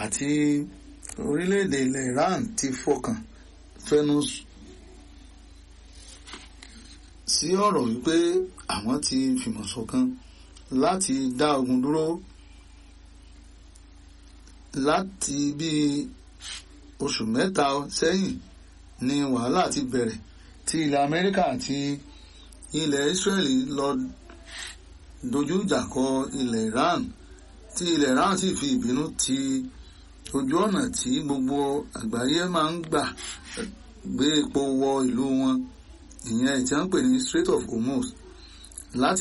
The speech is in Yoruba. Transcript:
àti orílẹ̀-èdè ilẹ̀ Iran ti fọkàn fẹnu sí ọ̀rọ̀ wípé àwọn ti fìmọ̀ ṣọ̀kan láti dá ogun dúró láti bí oṣù 3 sẹ́yìn ni wàhálà ti bẹ̀rẹ̀ tí ilẹ̀ Amẹ́ríkà àti ilẹ̀ Israeli lọ dojú ìjà kọ ilẹ̀ Iran, tí ilẹ̀ Iran sì fi ìbínú ti ojú ọ̀nà tí gbogbo àgbáyé máa ń gbà gbé epo wọ ìlú wọn, ìyẹn tí wọ́n ń pè ní Strait of Hormuz láti